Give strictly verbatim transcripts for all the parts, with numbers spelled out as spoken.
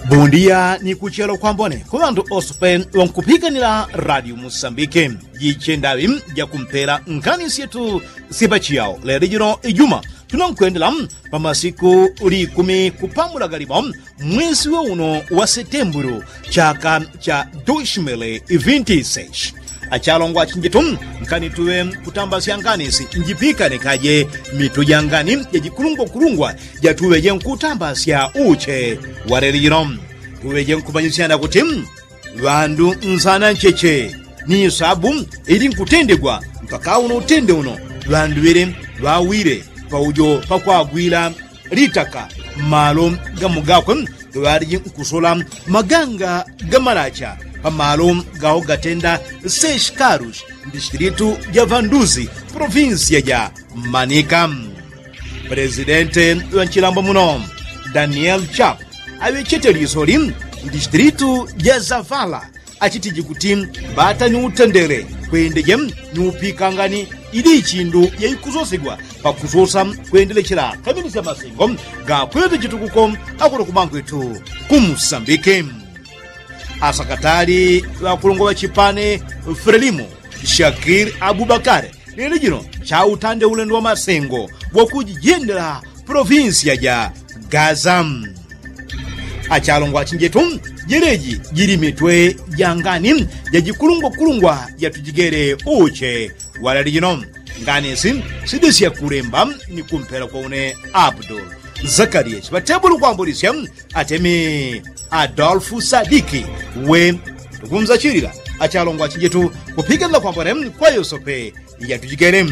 Bondia ni kuchelo kwambone ku ŵandu ose pe ŵankupikanila radio musambike. Jichendaŵi jakumpela nkhani syetu syepachiyao lelo jino ijuma tunankwendela pa masiku likumi kupamula galimo mwesi wa uno wa setembulu chaka cha dushimili vinti seshi. Achalongwa chinjitu nkani tuŵe kutambasya ngani si njipikane kaje mitu ja ngani jajikulungwakulungwa jatuŵeje nkutambasya uche wa lelo jino. Tuŵeje nkumanyisyana kuti ŵandu nsana ncheche ni sabu ili nkutendegwa mpaka uno utende uno ŵandu ŵele ŵawile paujo pakwagwila litaka mmalo gamugakwe gaŵaliji nkusola maganga gamalacha pamalo gaho gatenda seshikarus mdistilitu ja vanduzi provinsiya ja manika. Presidente ŵa nchilambo muno daniel chap aŵechete lisoli mdistilitu ja zavala achitiji kuti mbata ni utendele kwendeje ni upikangani ili ichindu yaikusosegwa pakusosa kwendelechela kaminisya masengo gakwete chitukuko akuno kumangwetu kumusambike. Asakatali ŵakulungwa ŵa chipane frelimo shakir abubakare lelo jino chautande ulendo wa masengo wakujijendela provinsiya ja gaza. Achalongwa achinjetu jeleji jili mitwe ja ngani jajikulungwakulungwa jatujigele uche walali jino. Ngani si sidisya kulemba ni kumpela kwa une abdul zakariya chiŵatebulu kwambulisya atemi adolfu sadiki we tukumzachilila achalongwa achinjetu kupikanila kwambone kwa yosope yatujigele.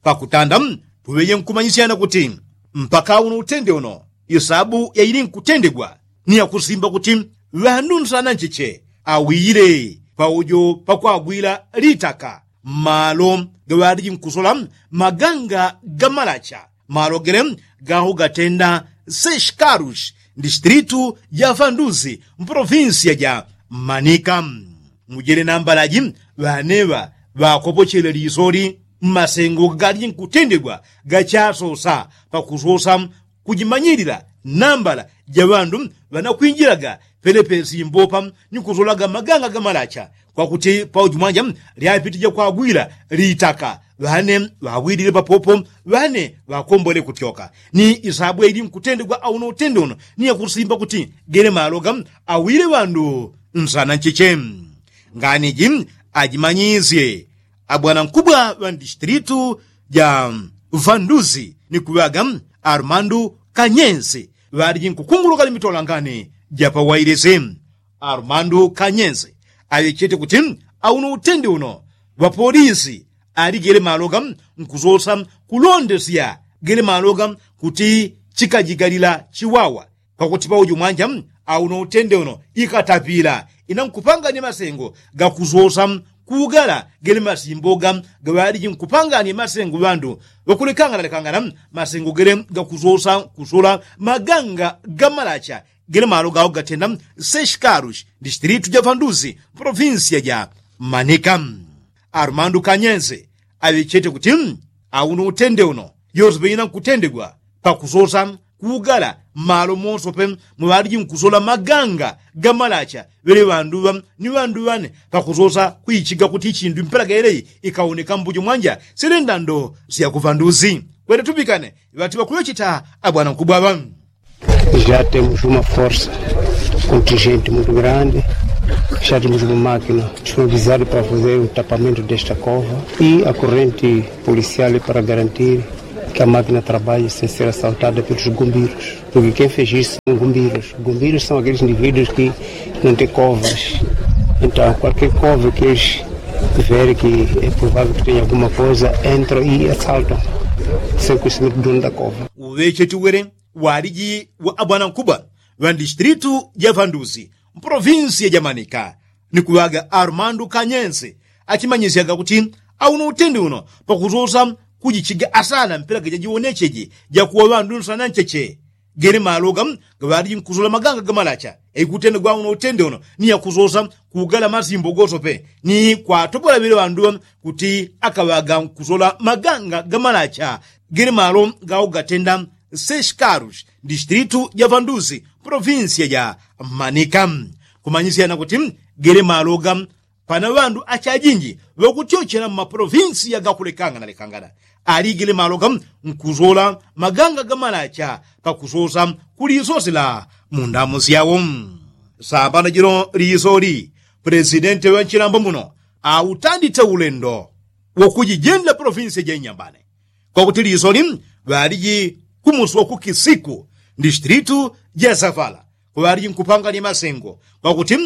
Pakutanda tuŵeje nkumanyisyana kuti mpaka uno utende uno isabu yaili nkutendegwa ni yakusimba kuti ŵandu nsana ncheche awiyile paujo pakwagwila litaka mmalo gaŵaliji nkusola maganga gamalacha malo gele gaho gatenda seshikarus mdistilitu ja vanduzi mprovinsiya ja manika. Mujele nambalaji ŵaneŵa ŵakopochele lisoli mmasengo galiji nkutendegwa gachasosa pakusosa kujimanyilila nambala ja ŵandu ŵanakwinjilaga pelepe simbopa ni kusolaga maganga gamalacha kwakuti pauju mwanja lyapitija kwagwila litaka ŵane ŵawilile papopo ŵane ŵakombole kutyoka ni isabu yaili nkutendegwa auno utende uno ni yakusimba kuti gele maloga awile ŵandu nsana ncheche. Nganiji ajimanyisye abwanankubwa ŵa ndistilitu ja vanduzi ni kuŵaga armandu kanyensi ŵaliji nkukunguluka ni mitolangani ja pawailisi. Armandu kanyensi aŵechete kuti auno utende uno ŵapolisi aligele maloga nkusosa kulondesya gele maloga kuti chikajigalila chiwawa kwakuti pauju mwanja auno utende uno ikatapila ina nkupangani masengo gakusosa kugala gele masimboga gaŵaliji nkupangani masengo ŵandu ŵakulekanganalekangana masengo gele gakusosa kusola maganga gamalacha gele malo gawo gatenda seshikarushi ndishitilitu ja vanduzi provinsiya ja manika. Arumandu kanyense aŵechete kuti auno utende uno yosepe ina nkutendegwa pakusosa kugala malo mosope mwaŵaliji nkusola maganga gamalacha ŵele ŵanduŵa ni ŵanduŵane pakusosa kuichiga kuti ichindu mpela gaeleyi ikawoneka mbujo mwanja sile ndando sya kuvanduzi. Kwete tupikane ŵati ŵakuŵecheta abwanankubwa aŵa. Já temos uma força contingente muito grande. Já temos uma máquina disponibilizada para fazer o tapamento desta cova e a corrente policial para garantir que a máquina trabalhe sem ser assaltada pelos gumbeiros. Porque quem fez isso são gumbeiros. Gumbeiros são aqueles indivíduos que não têm covas. Então, qualquer cova que eles verem que é provável que tenha alguma coisa, entram e assaltam, sem conhecimento do dono da cova. Uŵecheti wele waliji wa abwanankubwa ŵa ndishitilitu ja vanduzi mprovinsiya ja manika ni kuŵaga arumandu kanyense achimanyisyaga kuti auno utende uno pakusosa kujichiga asana mpela gajajiwonecheje jakuwa ŵandu nsana ncheche gele maloga gaŵaliji nkusola maganga gamalacha yaikutendegwa auno utende uno ni yakusosa kugala masimbo gosope ni kwatobola ŵele ŵanduŵa kuti akaŵaga nkusola maganga gamalacha gele malo gawo gatenda Seskarus, distritu ja vandusi, provinsia ja manika. Kumanyisyana kuti gele maloga pana ŵandu achajinji ŵakutyochela mmaprovinsia gakulekangana lekangana. Aligile maloga nkusola maganga gamalacha pakusosa kulisosi la mundamu syawo. Sambano jino lisoli, pulesidenti ŵa nchilambo muno autandite ulendo wakujijendela provinsia ja inyambane. Kwakuti lisoli ŵaliji kumusi wakukisiku, distritu ja savala, kwaŵaliji nkupanganya masengo kwakuti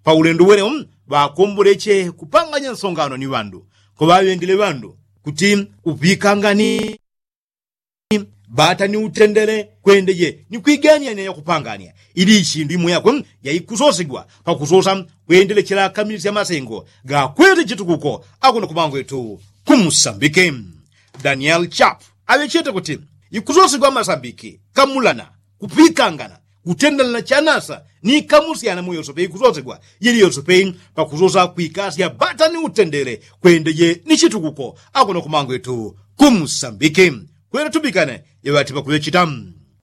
paulendo wene ŵakomboleche kupanganya nsongano ni ŵandu. Kwaŵaŵendele ŵandu kuti uŵikangani bata ni utendele kwendeje ni kwigania nia yakupangania ili ichindu imo yakwe yaikusosigwa pakusosa kwendelechela kamilisya masengo gakwete chitukuko akuno kumangwetu kumusambike. Daniel chap aŵechete kuti ikusosigwa masambiki kamulana kupikangana kutendelana chanasa ni kamusyana muyosope ikusosigwa yili yosope pakusosa kwikasya bata ni utendele kwendeje ni chitukuko akuno kumangwetu kumusambike. Kwene tupikane yeŵati pakuŵechita.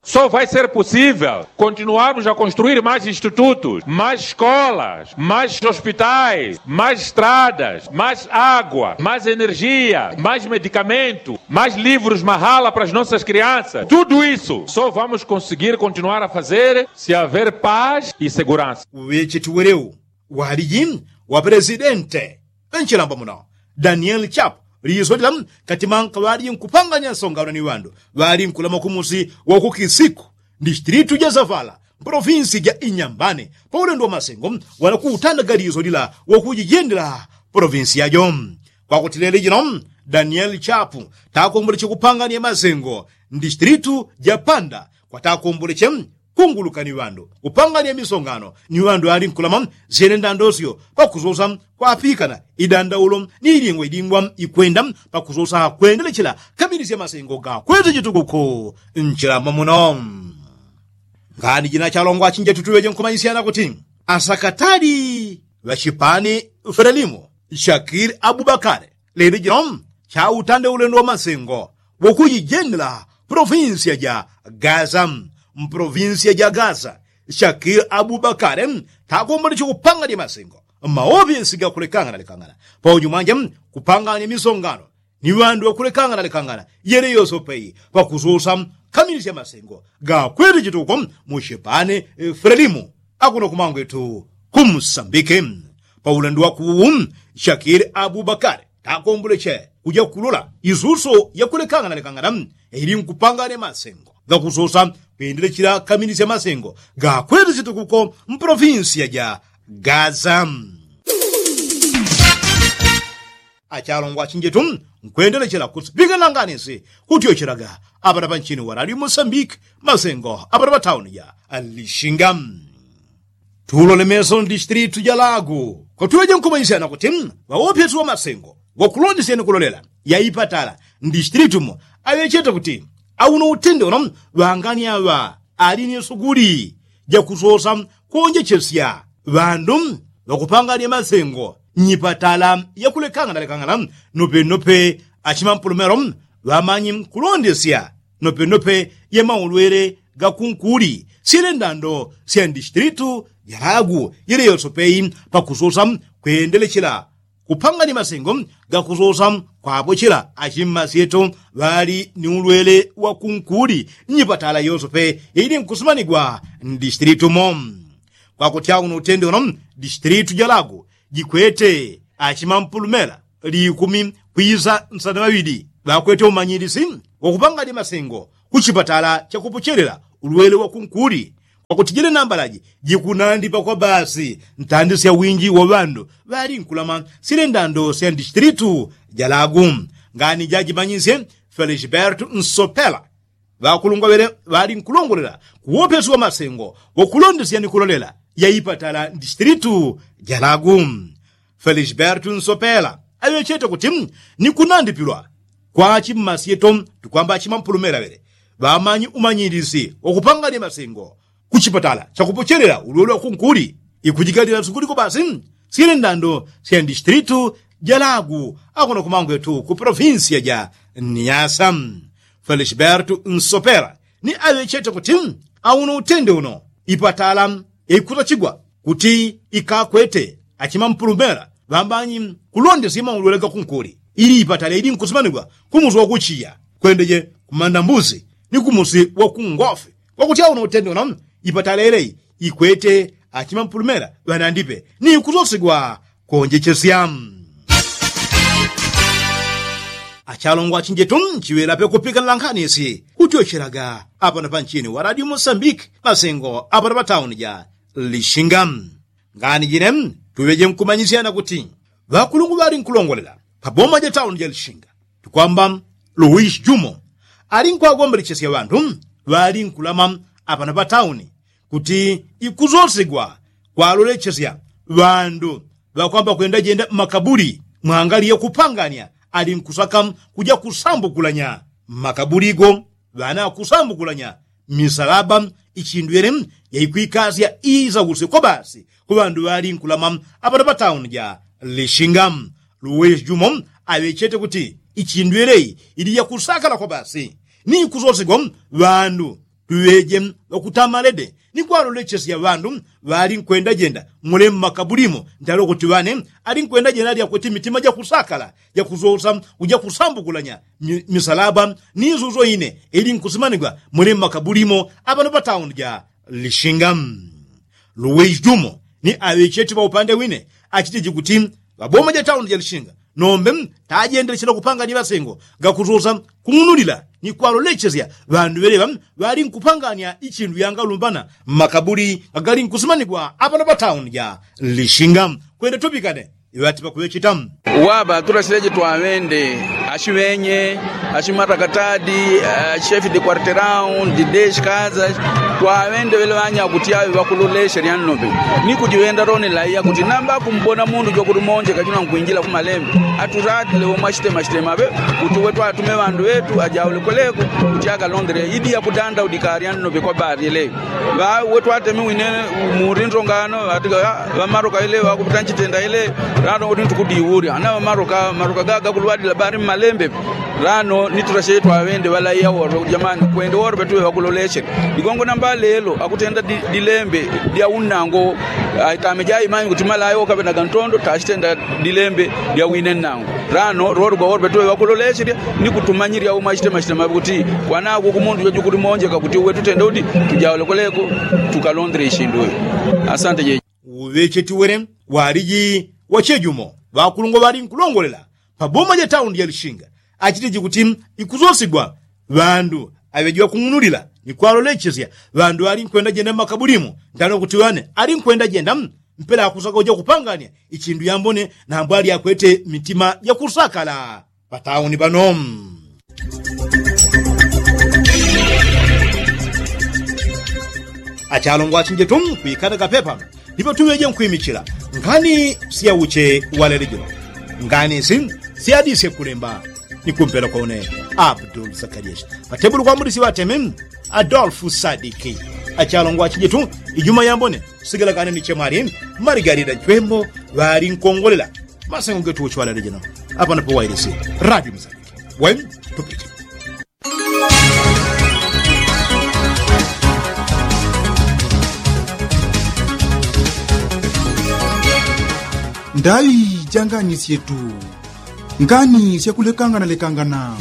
Só vai ser possível continuarmos a construir mais institutos, mais escolas, mais hospitais, mais estradas, mais água, mais energia, mais medicamento, mais livros mahala para as nossas crianças. Tudo isso só vamos conseguir continuar a fazer se haver paz e segurança. Uŵecheti weleu waliji wa pulesidente ŵa nchilambo muno daniel chap lisolila kati manka ŵaliji nkupanganya nsongano ni ŵandu ŵali nkulama kumusi wakukisiku, distritu ja savala, mprovinsi ja inyambane, paulendo wa masengo wanakutandaga lisolila wakujijendela provinsi yajo. Kwakuti leli jino daniel chap takomboleche kupanganya masengo ndistritu ja panda kwatakomboleche kunguluka ni ŵandu kupanganya misongano ni ŵandu ŵali nkulama syene ndandosyo pakusosa kwapikana idandaulo ni ilingwa ilingwa ikwenda pakusosa kwendelechela kamilisya masengo gakwete chitukuko nchilamba muno. Ngani jina chalongwa chinjetu tuŵeje nkumanyisyana kuti asakatali ŵa chipani fele limo shakili abubakale leli jino chautande ulendo wa masengo wokujijendela provinsia ja gaza. Mprovinsia ja gaza shakili abubakale takomboleche kupanganya masengo maopyesi gakulekangana lekangana pauju mwanje kupanganya misongano ni ŵandu ŵakulekangana lekangana yele yosope pakusosa kamilisya masengo gakwete chitukuko mu chipani fele limo akuno kumangwetu kumusambike. Paulendo wakuwu shakili abubakale takomboleche kuja kulola isuso yakulekangana lekangana ili nkupanganya masengo gakusosa kwendelechela kamilisya masengo gakwete chitukuko mprovinsia ja gaza. Achalongwa achinjetu nkwendelechela kusipika nanganisi kutyochelaga apata panchini wa radio mosambiki masengo apata patauni ja lishinga. Tulole meso ndistritu ja lagu kwatuŵeje nkumanyisyana kuti ŵaopyesi wa masengo wakulondesyani kulolela yaipatala ndistritumo aŵechete kuti auno utendelo ŵangani aŵa ali ni sukuli jakusosa kuonjechesya ŵandu ŵakupanganya masengo nyipatala yakulekangana lekangana nopenope achimampulumelo ŵamanyi kulondesya nopenope yemaulwele gakunkuli syele ndando sya ndistritu jalagu yele yosope pakusosa kwendelechela kupanganya masengo gakusosa kwapochela achimmasyeto ŵali ni ulwele wakunkuli nyipatala yosope ili nkusumanigwa ndistritu mo. Kwakuti auno utende uno distritu ja lagu jikwete achimampulumela likumi kwisa nsana ŵaŵili ŵakwete umanyilisi wakupanganya masengo kuchipatala chakupochelela ulwele wakunkuli. Kwakuti jele nambalaji jikunandipa kwa basi ntandi sya winji wa ŵandu ŵali nkulama sile ndando sya ndistritu ja lagu. Ngani jajimanyisye felisbertu nsopela ŵakulungwa ŵele ŵali nkulongolela kuwopesi wa masengo wakulondesya ni kulolela yaipatala ndistritu ja lagu. Felisbertu nsopela aŵechete kuti ni kunandipilwa kwa achimmasyeto tukwamba achimampulumela ŵele ŵamanyi umanyilisi wakupanganya masengo kuchipatala chakupochelela ulwele wakunkuli ikujigalila sukuli kwa basi sile ndando sya ndistritu ja lagu akuno kumangwetu ku provinsia ja niasa. Felisbertu nsopela ni aŵechete kuti auno utende uno ipatala yaikutachigwa kuti ikakwete achimampulumela ŵambanyi kulondesya maulwele gakunkuli ili ipatala ili nkusimanigwa kumusi wakuchiya kwendeje kumanda mbusi ni kumusi wakungofi kwakuti auno utende uno ipatala yelei ikwete achimampulumela ŵanandipe ni kusosigwa konjechesya. Achalongwa achinjetu nchiŵela pekupikanila nkhani isi kutyochelaga apano panchini wa radio mosambiki masengo apano patauni ja lishinga. Ngani jine tuŵeje nkumanyisyana kuti ŵakulungu ŵali nkulongolela paboma ja tauni ja lishinga tukwamba luwisi jumo ali nkwagombelechesya ŵandu ŵali nkulama apano patauni kuti ikusosigwa kwalolechesya ŵandu ŵakwamba kwendajenda mmakabuli mwangali yakupangania ali nkusaka kuja kusambukulanya mmakabuli go ŵana akusambukulanya misalaba ichindu yele yaikwikasya isausi kwa basi ku ŵandu ŵali nkulama apano patauni ja lishinga. Luwisi jumo aŵechete kuti ichindu yelei ili yakusakala kwa basi ni ikusosigwa ŵandu tuŵeje ŵakutamalede ni kwalolechesya ŵandu ŵali nkwendajenda mule mmakabulimo ntale kuti ŵane ali nkwendajenda ali akwete mitima jakusakala jakusosa kuja kusambukulanya misalaba ni isuso ine ili nkusimanigwa mule mmakabulimo apano patauni ja lishinga. Luwisi jumo ni aŵechete ŵaupande wine achitiji kuti ŵaboma ja tauni ja lishinga nombe tajendelechela kupangania ŵasengo gakusosa kung'unulila ni kwalolechesya ŵandu ŵeleŵa ŵali nkupangania ichindu yangalumbana mmakabuli gagali nkusimanigwa apano patauni ja lishinga. Kwende tupikane iŵati pakuŵecheta. Waba tulashileje twaŵende ashiŵenye ashimatakatadi ashichefi de kwarteraun de deshikaza twaŵende ŵele ŵanya kuti aŵe ŵakulolesha lyannope ni kujiŵenda loni laiya kuti namba akumbona mundu jwakulimonjeka juna nkwinjila kumalembe atulatile womwashitemashitema ŵe kuti uwe twatume ŵandu ŵetu ajaule kweleko kuti akalondele idi yakudanda udika lyannope kwa bali yeleyo. Ŵa uwe twateme wine muri ndongano ŵatiga ŵamaroka ile ŵakuputa nchitenda ile. Lano uli ntukudiwulya ana ŵamaroka maroka gaga kulwadila bali mmalembe. Lano nitulashe twaŵende ŵalaiya woro jamani kwende woro petuŵe ŵakuloleshele. Ligongo namba lelo akutenda dilembe lya unnango. Aitame jaimanyi kuti malaiya wokaŵenaga ntondo tashitenda dilembe lya wine nnango. Lano lolo gwaworwe tuŵe ŵakuloleshelya ni kutumanyilya umwashitema shitema kuti kwanagwe kumundu jwajukulimonjeka kuti uwe tutende udi tujaule kweleko tukalondele ishindu uyu. Asante jeje. Uŵecheti wele waliji wachejumo ŵakulungwa ŵali nkulongolela paboma ja tauni ja lishinga achitiji kuti ikusosigwa ŵandu aŵeji ŵakung'unulila ni kwalolechesya ŵandu ŵali nkwendajenda mmakabulimo ntano kuti ŵane ali nkwendajenda mpela akusaka uja kupangania ichindu yambone nambo ali akwete mitima jakusakala patauni pano. Achalongwa achinjetu kwikana kapepa ndipo tuŵeje nkwimichila ngani syauche walelejelo ngani si syadisye kulemba ni kumpela kwa une abdul zakariashi patebulu kwa mudisi ŵateme adolfu sadiki. Achalongwa achinjetu ijuma yambone sigala kane ni chemwali maligalida nchwembo ŵali nkongolela masengo getu uchwalele jino apano pa wailisi radio mzaliki wen tupiti. Ndaŵi ja ngani syetu ngani syakulekangana lekangana.